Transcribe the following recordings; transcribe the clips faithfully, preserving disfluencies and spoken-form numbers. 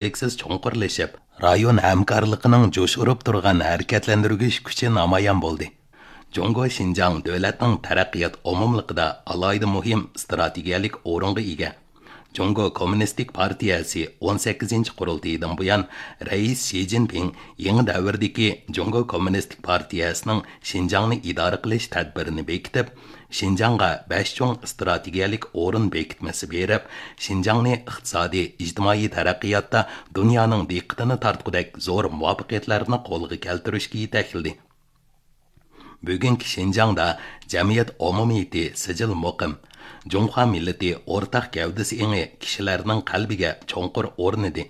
ئۈزلۈكسىز چوڭقۇرلىشىپ، رايون ھەمكارلىقىنىڭ جۇش ئۇرۇپ تۇرغان ھەرىكەتلەندۈرگۈچ كۈچى نامايان بولدى. جۇڭگو شىنجاڭ دۆلەتنىڭ تەرەققىيات ئومۇملۇقىدا ئالاھىدە مۇھىم ئىستراتېگىيەلىك ئورۇنغا ئىگە. جۇڭگو كوممۇنىستىك پارتىيەسى ئون سەككىزىنچى قۇرۇلتىيىدىن بۇيان، رەئىس شى جىنپىڭ يېڭى دەۋردىكى جۇڭگو كوممۇنىستىك پارتىيەسىنىڭ شىنجاڭنى ئىدارە قىلىش تەدبىرىنى بېكىتىپ، شىنجاڭغا بەش چوڭ ئىستراتېگىيەلىك ئورۇن بېكىتمىسى بېرىپ، شىنجاڭنى ئىقتىسادىي، ئىجتىمائىي تەرەققىياتتا دۇنيانىڭ دىققىتىنى تارتقۇدەك زور مۇۋەپپەقىيەتلەرنى قولغا كەلتۈرۈشكە يېتەكلىدى. بۈگۈنكى شىنجاڭدا جەمئىيەت ئومۇمىيىتى سىجىل مۇقىم، جۇڭخۇا مىللىتى ئورتاق گەۋدىسى ئېڭى كىشىلەرنىڭ قەلبىگە چوڭقۇر ئورنىدى،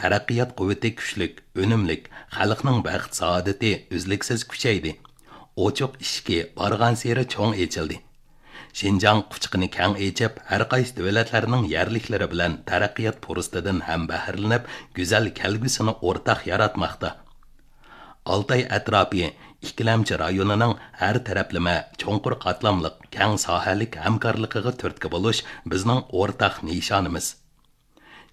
تەرەققىيات قۇۋۋىتى كۈچلۈك، ئۈنۈملۈك، خەلقنىڭ بەخت-سائادىتى ئۈزلۈكسىز كۈچەيدى. ئوچۇق ئىشىكى بارغانسېرى چوڭ ئېچىلدى. شىنجاڭ قۇچىقىنى كەڭ ئېچىپ، ھەرقايسى دۆلەتلەرنىڭ يەرلىكلىرى بىلەن تەرەققىيات پۇرسىتىدىن ھەم بەھرىلىنىپ، گۈزەل كەلگۈسىنى ئورتاق ياراتماقتا. ئالتاي ئەتراپى ئىككىلەمچى رايونىنىڭ ھەر تەرەپلىمە، چوڭقۇر قاتلاملىق، كەڭ ساھەلىك ھەمكارلىقىغا تۈرتكە بولۇش بىزنىڭ ئورتاق نىشانىمىز.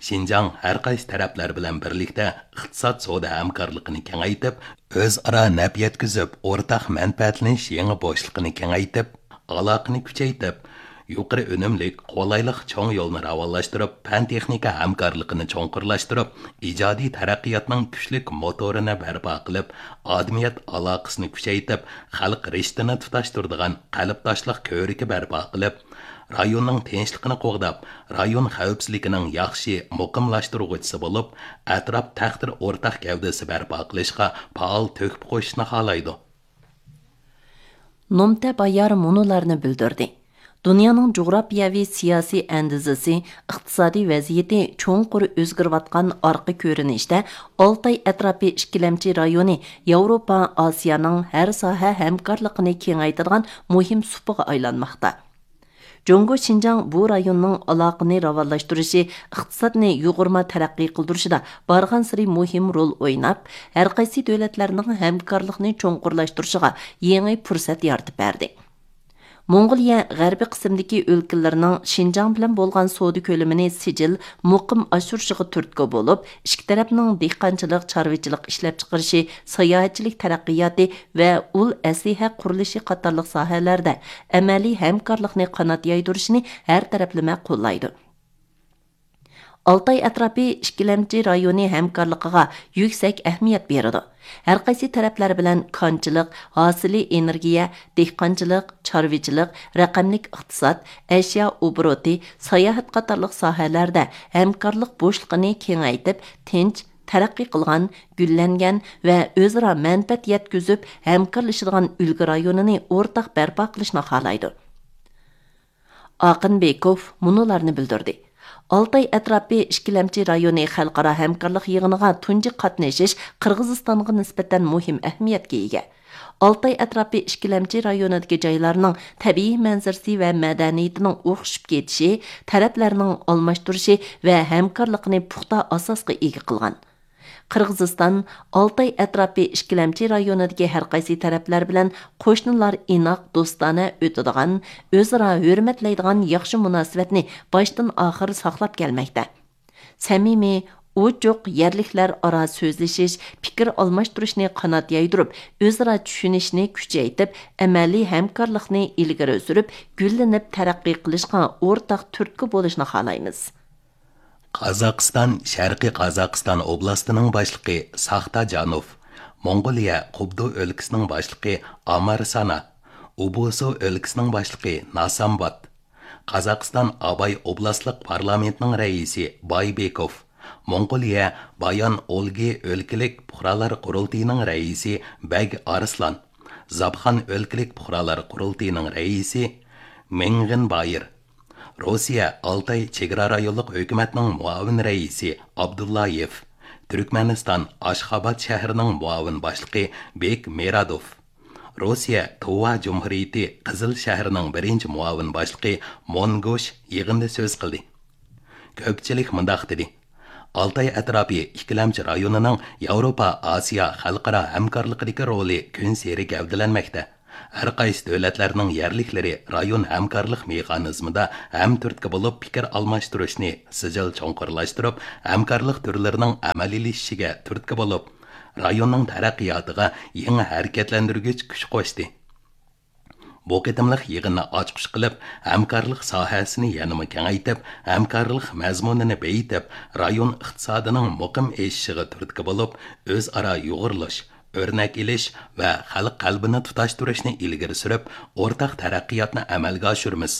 شىنجاڭ ھەرقايسى تەرەپلەر بىلەن بىرلىكتە ئىقتىساد سودا ھەمكارلىقىنى كېڭەيتىپ، ئۆزئارا نەپ يەتكۈزۈپ، ئورتاق مەنپەئەتلىنىش يېڭى بوشلۇقىنى كېڭەيتىپ، ئالاقىنى كۈچەيتىپ، يۇقىرى ئۈنۈملۈك، قولايلىق چوڭ يولنى راۋانلاشتۇرۇپ، پەن-تېخنىكا ھەمكارلىقىنى چوڭقۇرلاشتۇرۇپ، ئىجادىي تەرەققىياتنىڭ كۈچلۈك موتورىنى بەرپا قىلىپ، ئادىمىيەت ئالاقىسىنى كۈچەيتىپ، خەلق رىشتىنى تۇتاشتۇرىدىغان قەلبداشلىق كۆۋرۈكى بەرپا قىلىپ، رايوننىڭ تىنچلىقىنى قوغداپ، رايون خەۋپسىزلىكىنىڭ ياخشى مۇقىملاشتۇرغۇچىسى بولۇپ، ئەتراپ تەقدىر ئورتاق گەۋدىسى بەرپا قىلىشقا پائال تۆھپە قوشۇشنى خالايدۇ. نومتە بايار مۇنۇلارنى بىلدۈردى: دۇنيانىڭ جۇغراپىيەۋى سىياسىي ئەندىزىسى، ئىقتىسادىي ۋەزىيىتى چوڭقۇر ئۆزگىرىۋاتقان ئارقا كۆرۈنۈشتە، ئالتاي ئەتراپى ئىككىلەمچى رايونى ياۋروپا، ئاسىيانىڭ ھەر ساھە ھەمكارلىقىنى كېڭەيتىدىغان مۇھىم سۇپىغا ئايلانماقتا. جۇڭگو شىنجاڭ بۇ رايوننىڭ ئالاقىنى راۋانلاشتۇرۇشى، ئىقتىسادنى يۇغۇرما تەرەققىي قىلدۇرۇشىدا بارغانسېرى مۇھىم رول ئويناپ، ھەرقايسى دۆلەتلەرنىڭ ھەمكارلىقنى چوڭقۇرلاشتۇرۇشىغا يېڭى پۇرسەت يارىتىپ بەردى. موڭغۇلىيە غەربىي قىسىمدىكى ئۆلكىلىرىنىڭ شىنجاڭ بىلەن بولغان سودا كۆلىمىنى سىجىل، مۇقىم ئاشۇرۇشىغا تۈرتكە بولۇپ، ئىككى تەرەپنىڭ دېھقانچىلىق، چارۋىچىلىق ئىشلەپچىقىرىشى، ساياھەتچىلىك تەرەققىياتى ۋە ئۇل ئەسلىھە قۇرۇلۇشى قاتارلىق ساھەلەردە ئەمەلىي ھەمكارلىقنى قانات يايدۇرۇشىنى ھەر تەرەپلىمە قوللايدۇ. ئالتاي ئەتراپى ئىككىلەمچى رايونى ھەمكارلىقىغا يۈكسەك ئەھمىيەت بېرىدۇ. ھەرقايسى تەرەپلەر بىلەن كانچىلىق، ھاسىلى ئېنېرگىيە، دېھقانچىلىق، چارۋىچىلىق، رەقەملىك ئىقتىساد، ئەشيا ئوبوروتى، ساياھەت قاتارلىق ساھەلەردە ھەمكارلىق بوشلۇقىنى كېڭەيتىپ، تىنچ، تەرەققىي قىلغان، گۈللەنگەن ۋە ئۆزئارا مەنپەئەت يەتكۈزۈپ ھەمكارلىشىدىغان ئۈلگە رايونىنى ئورتاق بەرپا قىلىشنى خالايدۇ. ئاقىن بېكوف مۇنۇلارنى بىلدۈردى: ئالتاي ئەتراپى ئىككىلەمچى رايونى خەلقئارا ھەمكارلىق يىغىنىغا تۇنجى قاتنىشىش قىرغىزىستانغا نىسبەتەن مۇھىم ئەھمىيەتكە ئىگە. ئالتاي ئەتراپى ئىككىلەمچى رايونىدىكى جايلارنىڭ تەبىئىي مەنزىرىسى ۋە مەدەنىيىتىنىڭ ئوخشىشىپ كېتىشى تەرەپلەرنىڭ ئالماشتۇرۇشى ۋە ھەمكارلىقىنى پۇختا ئاساسقا ئىگە قىلغان. قىرغىزىستان ئالتاي ئەتراپى ئىككىلەمچى رايونىدىكى ھەرقايسى تەرەپلەر بىلەن قوشنىلار ئىناق، دوستانە ئۆتىدىغان، ئۆزئارا ھۆرمەتلەيدىغان ياخشى مۇناسىۋەتنى باشتىن ئاخىر ساقلاپ كەلمەكتە. سەمىمىي، ئوچۇق يەرلىكلەر ئارا سۆزلىشىش، پىكىر ئالماشتۇرۇشنى قانات يايدۇرۇپ، ئۆزئارا چۈشىنىشنى كۈچەيتىپ، ئەمەلىي ھەمكارلىقنى ئىلگىرى سۈرۈپ، گۈللىنىپ تەرەققىي قىلىشقا ئورتاق تۈرتكە بولۇشنى خالايمىز. قازاقىستان شەرقىي قازاقىستان ئوبلاستىنىڭ باشلىقى ساختا جانوف، موڭغۇلىيە قۇبدۇ ئۆلكىسىنىڭ باشلىقى ئامار سانا، ئوبۇسۇ ئۆلكىسىنىڭ باشلىقى ناسامبات، قازاقىستان ئاباي ئوبلاستلىق پارلامېنتىنىڭ رەئىسى بايبېكوف، موڭغۇلىيە بايان ئولگى ئۆلكىلىك پۇقرالار قۇرۇلتىيىنىڭ رەئىسى بەگ ئارسلان، زاپخان ئۆلكىلىك پۇقرالار قۇرۇلتىيىنىڭ رەئىسى مېڭغىن بايىر، روسىيە ئالتاي چېگرا رايونلۇق ھۆكۈمەتنىڭ مۇئاۋىن رەئىسى ئابدۇللايېف، تۈركمەنىستان ئاشخاباد شەھىرىنىڭ مۇئاۋىن باشلىقى بېك مېرادوف، روسىيە تۇۋا جۇمھۇرىيىتى قىزىل شەھىرىنىڭ بىرىنچى مۇئاۋىن باشلىقى مونگوش يىغىندا سۆز قىلدى. كۆپچىلىك مۇنداق دېدى: ئالتاي ئەتراپى ئىككىلەمچى رايونىنىڭ ياۋروپا ئاسىيا خەلقئارا ھەمكارلىقىدىكى رولى كۈنسېرى گەۋدىلەنمەكتە. ھەر قايسى دۆلەتلەرنىڭ يەرلىكلىرى رايون ھەمكارلىق مېخانىزمىدا ھەم تۈرتكە بولۇپ پىكىر ئالماشتۇرۇشنى سىجىل چوڭقۇرلاشتۇرۇپ، ھەمكارلىق تۈرلىرىنىڭ ئەمەلىيلىشىشىگە تۈرتكە بولۇپ، رايوننىڭ تەرەققىياتىغا يېڭى ھەرىكەتلەندۈرگۈچ كۈچ قوشتى. بۇ قېتىملىق يىغىننى ئاچقۇچ قىلىپ، ھەمكارلىق ساھەسىنى يەنىمۇ كېڭەيتىپ، ھەمكارلىق مەزمۇنىنى بېيىتىپ، رايون ئىقتىسادىنىڭ مۇقىم ئېشىشىغا تۈرتكە بولۇپ، ئۆزئارا يۇغۇرۇلۇش، ئۆرنەك ئېلىش ۋە خەلق قەلبىنى تۇتاشتۇرۇشنى ئىلگىرى سۈرۈپ، ئورتاق تەرەققىياتنى ئەمەلگە ئاشۇرىمىز.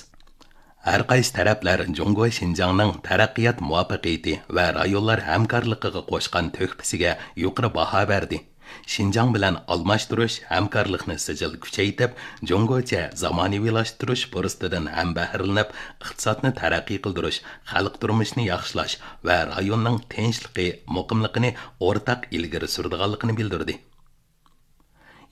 ھەر قايسى تەرەپلەر جۇڭگو شىنجاڭنىڭ تەرەققىيات مۇۋەپپەقىيىتى ۋە رايونلار ھەمكارلىقىغا قوشقان تۆھپىسىگە يۇقىرى باھا بەردى. شىنجاڭ بىلەن ئالماشتۇرۇش ھەمكارلىقنى سىجىل كۈچەيتىپ، جۇڭگوچە زامانىۋىلاشتۇرۇش پۇرسىتىدىن ھەم بەھرىلىنىپ، ئىقتىسادنى تەرەققىي قىلدۇرۇش، خەلق تۇرمۇشىنى ياخشىلاش ۋە رايوننىڭ تىنچلىقى، مۇقىملىقىنى ئورتاق ئىلگىرى سۈرىدىغانلىقىنى بىلدۈردى.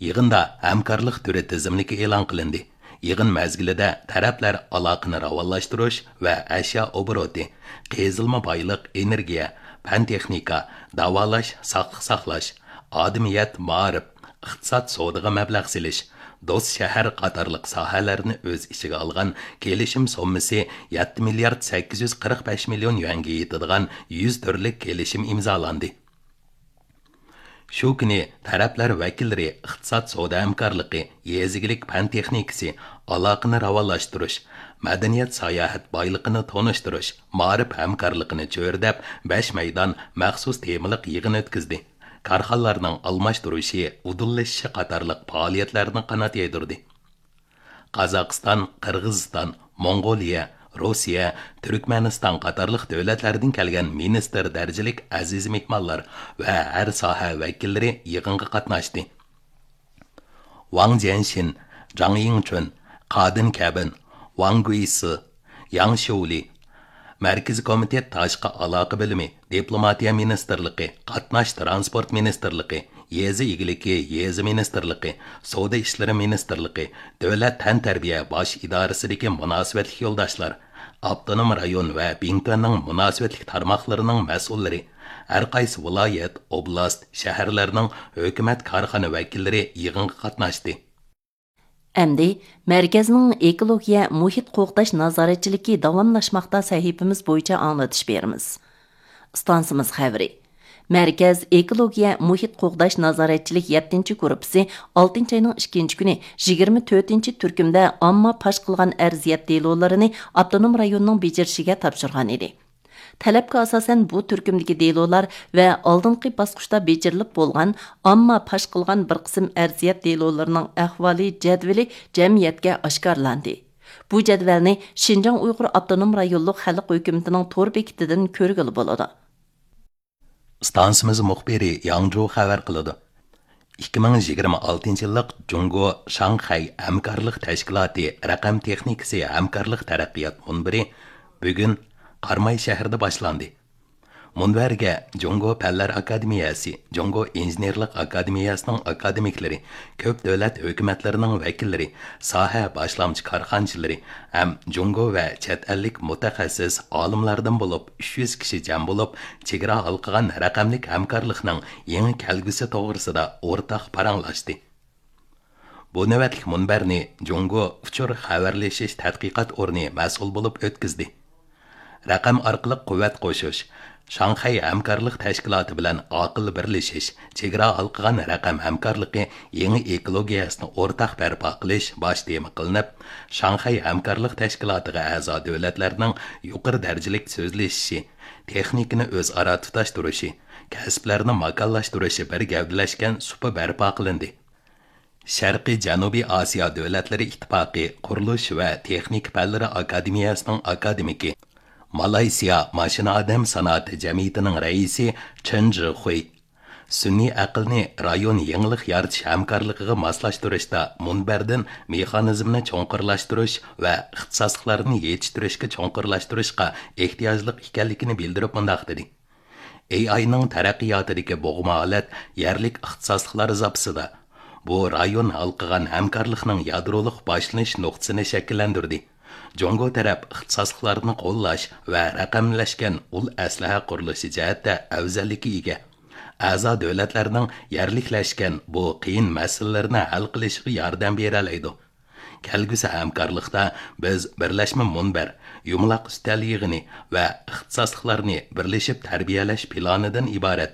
يىغىندا ھەمكارلىق تۈرى تىزىملىكى ئېلان قىلىندى. يىغىن مەزگىلىدە تەرەپلەر ئالاقىنى راۋانلاشتۇرۇش ۋە ئەشيا ئوبوروتى، قېزىلما بايلىق، ئېنېرگىيە، پەن تېخنىكا، داۋالاش، ساقلىق ساقلاش، ئادىمىيەت، مائارىپ، ئىقتىساد، سودىغا مەبلەغ سېلىش، دوست شەھەر قاتارلىق ساھەلەرنى ئۆز ئىچىگە ئالغان كېلىشىم سوممىسى يەتتە مىليارد سەككىز يۈز قىرىق بەش مىليون يۈەنگە يېتىدىغان يۈز تۈرلۈك كېلىشىم ئىمزالاندى. شۇ كۈنى تەرەپلەر ۋەكىللىرى ئىقتىساد، سودا ھەمكارلىقى، يېزا ئىگىلىك پەن تېخنىكىسى، ئالاقىنى راۋانلاشتۇرۇش، مەدەنىيەت ساياھەت بايلىقىنى تونۇشتۇرۇش، مائارىپ ھەمكارلىقىنى چۆرىدەپ، بەش مەيدان مەخسۇس تېمىلىق يىغىن ئۆتكۈزدى. كارخانىلارنىڭ ئالماشتۇرۇشى، ئۇدۇللىشىشى قاتارلىق پائالىيەتلەرنى قانات يايدۇردى. قازاقىستان، قىرغىزىستان، موڭغۇلىيە، روسىيە، تۈركمەنىستان قاتارلىق دۆلەتلەردىن كەلگەن مىنىستىر دەرىجىلىك ئەزىز مېھمانلار ۋە ھەر ساھە ۋەكىللىرى يىغىنغا قاتناشتى. ۋاڭ جيەنشىن، جاڭ يىڭچۈن، قادىن كەبىن، ۋاڭ گۇيسى، ياڭ شيۇلى، مەركىزىي كومىتېت تاشقى ئالاقە بۆلۈمى، دىپلوماتىيە مىنىستىرلىقى، قاتناش تىرانسپورت مىنىستىرلىقى، يېزا ئىگىلىكى، يېزا مىنىستىرلىقى، سودا ئىشلىرى مىنىستىرلىقى، دۆلەت تەنتەربىيە باش ئىدارىسىدىكى مۇناسىۋەتلىك يولداشلار، ئاپتونوم رايون ۋە بىڭتۈەننىڭ مۇناسىۋەتلىك تارماقلىرىنىڭ مەسئۇللىرى، ھەر قايسى ۋىلايەت، ئوبلاست، شەھەرلەرنىڭ ھۆكۈمەت كارخانا ۋەكىللىرى يىغىنغا قاتناشتى. ئەمدى مەركەزنىڭ ئېكولوگىيە مۇھىت قوغداش نازارەتچىلىكى داۋاملاشماقتا سەھىپىمىز بويىچە ئاڭلىتىش بېرىمىز. ئىستانسىمىز خەۋىرى. مەركەز ئېكولوگىيە مۇھىت قوغداش نازارەتچىلىك يەتتىنچى گۇرۇپپىسى ئالتىنچى ئاينىڭ ئىككىنچى كۈنى يىگىرمە تۆتىنچى تۈركۈمدە ئامما پاش قىلغان ئەرزىيەت دېلولىرىنى ئاپتونوم رايوننىڭ بېجىرىشىگە تاپشۇرغان ئىدى. تەلەپكە ئاساسەن، بۇ تۈركۈمدىكى دېلولار ۋە ئالدىنقى باسقۇچتا بېجىرىلىپ بولغان ئامما پاش قىلغان بىر قىسىم ئەرزىيەت دېلولىرىنىڭ ئەھۋالى جەدۋىلى جەمئىيەتكە ئاشكارىلاندى. بۇ جەدۋەلنى شىنجاڭ ئۇيغۇر ئاپتونوم رايونلۇق خەلق ھۆكۈمىتىنىڭ تور بېكىتىدىن كۆرگىلى بولىدۇ. ئىستانسىمىز مۇخبىرى ياڭجۇ خەۋەر قىلىدۇ. ئىككى مىڭ يىگىرمە ئالتىنچى يىللىق جۇڭگو شاڭخەي ھەمكارلىق تەشكىلاتى رەقەم تېخنىكىسى ھەمكارلىق تەرەققىيات مۇنبىرى بۈگۈن قاراماي شەھىرىدە باشلاندى. مۇنبەرگە جۇڭگو پەنلەر ئاكادېمىيەسى، جۇڭگو ئىنژېنېرلىق ئاكادېمىيەسىنىڭ ئاكادېمىكلىرى، كۆپ دۆلەت ھۆكۈمەتلىرىنىڭ ۋەكىللىرى، ساھە باشلامچى كارخانىچىلىرى ھەم جۇڭگو ۋە چەت ئەللىك مۇتەخەسسىس ئالىملاردىن بولۇپ ئۈچ يۈز كىشى جەم بولۇپ، چېگرا ھالقىغان رەقەملىك ھەمكارلىقنىڭ يېڭى كەلگۈسى توغرىسىدا ئورتاق پاراڭلاشتى. بۇ نۆۋەتلىك مۇنبەرنى جۇڭگو ئۇچۇر خەۋەرلىشىش تەتقىقات ئورنى مەسئۇل بولۇپ ئۆتكۈزدى. رەقەم ئارقىلىق قۇۋۋەت قوشۇش، شاڭخەي ھەمكارلىق تەشكىلاتى بىلەن ئاقىل بىرلىشىش، چېگرا ھالقىغان رەقەم ھەمكارلىقى يېڭى ئېكولوگىيەسىنى ئورتاق بەرپا قىلىش باش تېما قىلىنىپ، شاڭخەي ھەمكارلىق تەشكىلاتىغا ئەزا دۆلەتلەرنىڭ يۇقىرى دەرىجىلىك سۆزلىشىشى، تېخنىكىنى ئۆزئارا تۇتاشتۇرۇشى، كەسىپلەرنى ماكانلاشتۇرۇشى بىر گەۋدىلەشكەن سۇپا بەرپا قىلىندى. شەرقىي جەنۇبىي ئاسىيا دۆلەتلىرى ئىتتىپاقى قۇرۇلۇش ۋە تېخنىكا پەنلىرى ئاكادېمىيەسىنىڭ ئاكادېمىكى، مالايسىيا ماشىنا ئادەم سانائىتى جەمئىيىتىنىڭ رەئىسى چېن جىخۇي، سۈنئىي ئەقىلنى رايون يېڭىلىق يارىتىش ھەمكارلىقىغا ماسلاشتۇرۇشتا مۇنبەردىن مېخانىزمنى چوڭقۇرلاشتۇرۇش ۋە ئىختىساسلىقلارنى يېتىشتۈرۈشكە چوڭقۇرلاشتۇرۇشقا ئېھتىياجلىق ئىكەنلىكىنى بىلدۈرۈپ مۇنداق دېدى. ئېي ئاينىڭ تەرەققىياتىدىكى بوغما ھالەت يەرلىك ئىختىساسلىقلار زاپىسىدا، بۇ رايون ھالقىغان ھەمكارلىقنىڭ يادرولۇق باشلىنىش نۇقتىسىنى شەكىللەندۈردى. جۇڭگو تەرەپ ئىختىساسلىقلارنى قوللاش ۋە رەقەملەشكەن ئۇل ئەسلىھە قۇرۇلۇشى جەھەتتە ئەۋزەللىككە ئىگە. ئەزا دۆلەتلەرنىڭ يەرلىكلەشكەن بۇ قىيىن مەسىلىلىرىنى ھەل قىلىشىغا ياردەم بېرەلەيدۇ. كەلگۈسى ھەمكارلىقتا بىز بىرلەشمە مۇنبەر، يۇمىلاق ئۈستەل يىغىنى ۋە ئىختىساسلىقلارنى بىرلىشىپ تەربىيەلەش پىلانىدىن ئىبارەت